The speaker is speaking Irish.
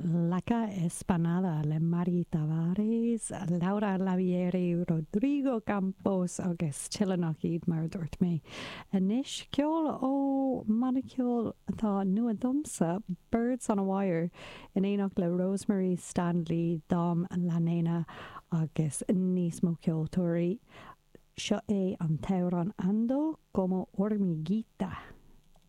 Laca Espanada le Mari Tavares, Laura Lavieri, Rodrigo Campos agus tuilleadh nach iad, mar a dúirt mé. Anois, ceol ó mbanna ceoil atá nua domsa, Birds on a Wire, in éineacht le Rosemary Standley, Dom La Nena agus níos mó ceoltóirí. Seo é an t-amhrán Ando como hormiguita.